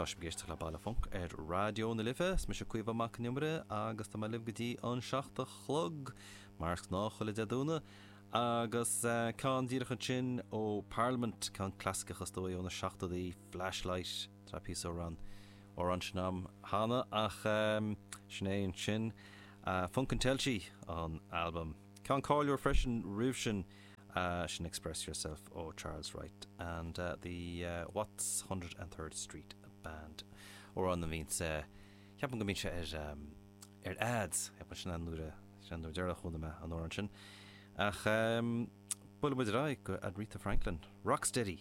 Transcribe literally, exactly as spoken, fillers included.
Tá sibh ag éisteacht le Baile Func ar Raidió na Life, is mise Caoimhe Mac Con Iomaire agus tá mé libh go dtí an seacht a chlog mar is gnáth chuile Dé Domhnaigh agus uh, ceann díreach ansin ó Parliament ceann clasaiceach is dóigh ó na seachtóidí Flashlight tá pí ran ó an sin am cheana ach um, sin é ansin uh, Funk and Telchi an album. Ceann cáiliúil freisin roimh sin uh, sin Express Yourself ó Charles Wright and uh, the uh, Watts hundred and Third Street Band amhrán a bhíonn ceapaim go mbíonn sé ar um, ar ads sin an nuair sin nuair deireanach chonaic mé an amhrán sin. Ach um, buailfidh muid go Aretha Franklin, Rocksteady.